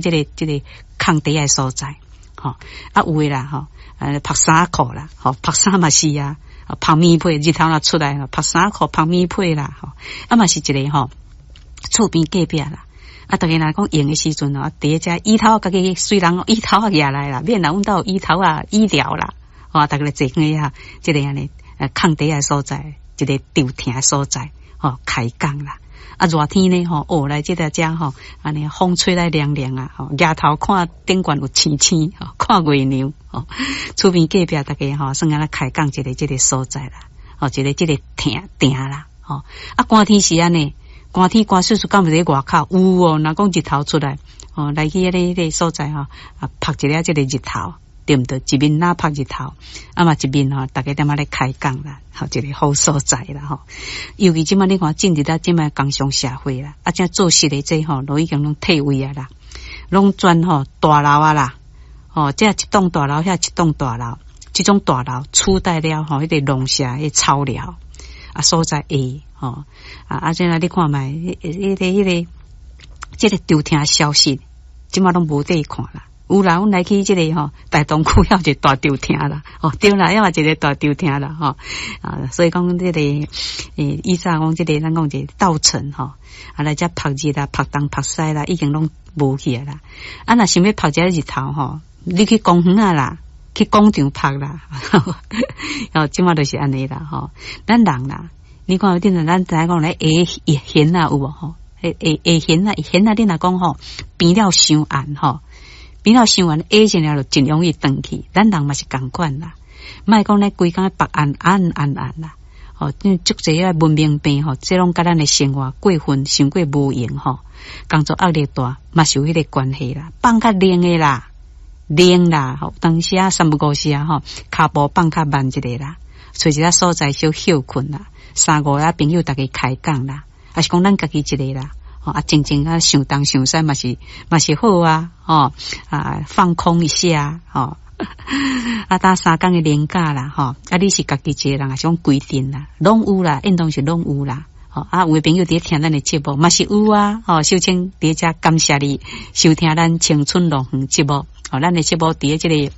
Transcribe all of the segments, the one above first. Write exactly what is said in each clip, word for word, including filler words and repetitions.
這个這个空地的所在，吼啊有的啦，吼，呃，曝衫褲啦，吼，曝衫嘛是啊，曝棉被，日頭若出來，曝衫褲、曝棉被啦，吼，啊嘛是一个吼，厝邊隔壁啦，啊，逐家若講閒的時陣哦，佇遮椅頭家己隨人椅頭仔舉來啦，免人阮兜有椅頭仔椅寮啦，吼，逐家來坐遐啊，這个按呢，呃，空地的所在，一个涼亭的所在，吼，開講啦。啊，熱天呢吼，哦，來這个遮吼，按呢風吹來涼涼啊，吼，舉頭看頂懸有星星，吼，看月娘，吼，厝邊隔壁逐家吼，算按呢開講一个這个所在啦，吼，一个這个亭亭啦，吼，啊，寒天是按呢，寒天寒溼溼，敢有佇外口有哦，若講日頭出來，吼，來去彼个彼个所在吼，啊，曝一下這个日頭，對毋對？一面若曝日頭，啊嘛一面吼，逐家踮遐咧開講啦，吼，一個好所在啦，吼。尤其這擺你看進入到這擺工商社會啦，啊，這做事的這吼，都已經攏退位啊啦，攏轉吼大樓啊啦，吼，這一棟大樓，遐一棟大樓，這種大樓取代了吼，彼个農舍彼草寮啊所在會吼啊啊！這啦你看覓，彼个彼个這个涼亭消失，這擺攏無得看啦。有啦，阮來去這个吼，大同區遐有一個大涼亭啦，哦對啦，遐嘛一個大涼亭啦，吼啊，所以講這個，欸，以早講這个，咱講一个稻城吼，啊來遮曝日啦，曝東曝西啦，已經攏無去啊啦。啊，若想欲曝一下日頭吼，你去公園啊啦，去廣場曝啦，哦，這擺就是按呢啦，吼。咱人啦，你看頂陣咱知影講咧下下弦啊有無吼？下下下弦啊，弦啊，你若講吼變了傷暗吼。變了傷暗，下一了就真容易轉去。咱人嘛是仝款啦，莫講咧規工曝暗暗暗暗啦。吼，足濟个文明病吼，這攏佮咱的生活過分，傷過無閒吼，工作壓力大，嘛是有彼個關係啦。放較冷的啦，冷啦，吼，當時啊三不五時啊吼，跤步放較慢一下啦，揣一个所在小歇睏啦，三五个朋友逐家開講啦，抑是講咱家己一个啦。啊，靜靜啊，想東想西嘛是嘛是好啊，吼啊，放空一下，吼啊，打三工的連假啦，吼啊，你是家己一個人，抑是講規陣啦，攏有啦，應當是攏有啦，吼啊，有的朋友佇咧聽咱的節目嘛是有啊，吼，秀清佇遮感謝你收聽咱青春樂園節目，吼，咱的節目佇咧這个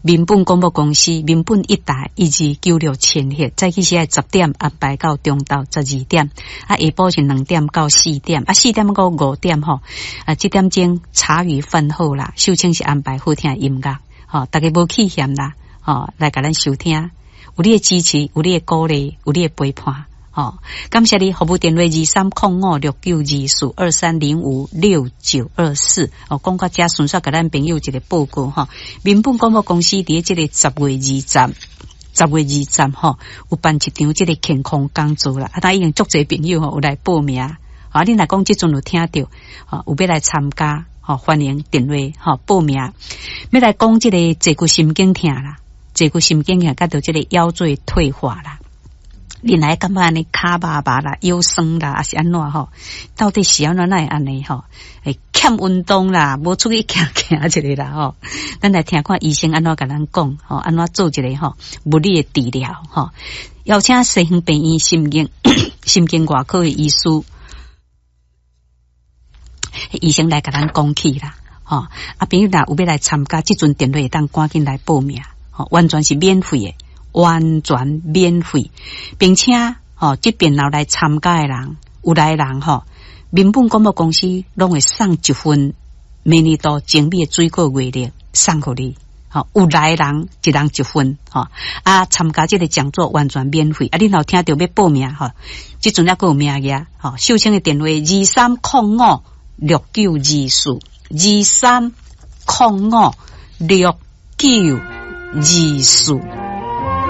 民本廣播公司民本一台一二九六千赫，早起時愛十點安排到中晝十二點，啊下晡是兩點到四點，啊四點到五點吼，啊這點鐘茶餘飯後啦，秀清是安排好聽的音樂，吼，逐家無棄嫌啦，吼，來共咱收聽，有你的支持，有你的鼓勵，有你的陪伴。吼，感謝你服務電話二三空五六九二四二三零五六九二四。哦，講到遮順續共咱朋友一個報告吼，民本廣播公司佇這個十月二十，十月二十吼，有辦一場這個健康講座啦。啊，但已經足濟朋友吼有來報名。啊，你若講這陣有聽著，吼有欲來參加，吼歡迎電話吼報名。欲來講這個坐骨神經疼啦，坐骨神經疼，佮著這個腰椎退化啦。你若感覺按呢跤肉麻啦、腰酸啦，抑是按怎吼？到底是按怎哪會按呢吼？會欠運動啦，無出去行行一下啦吼。咱來聽看醫生按怎共咱講吼，按怎做一个吼物理的治療吼。邀請西園病院神經神經外科的醫師，醫生來共咱講起啦吼。啊，朋友若有欲來參加，這陣電話會當趕緊來報名，吼，完全是免費的。完全免費，並且吼，這邊後來參加的人，有來的人吼，民本廣播公司攏會送一份每年度精美的水果月曆送予你，吼，有來的人一人一份，吼，啊，參加這个講座完全免費，啊，你若聽著欲報名吼，這陣猶閣有名額，吼，秀清的電話二三空五六九二四，二三空五六九二四。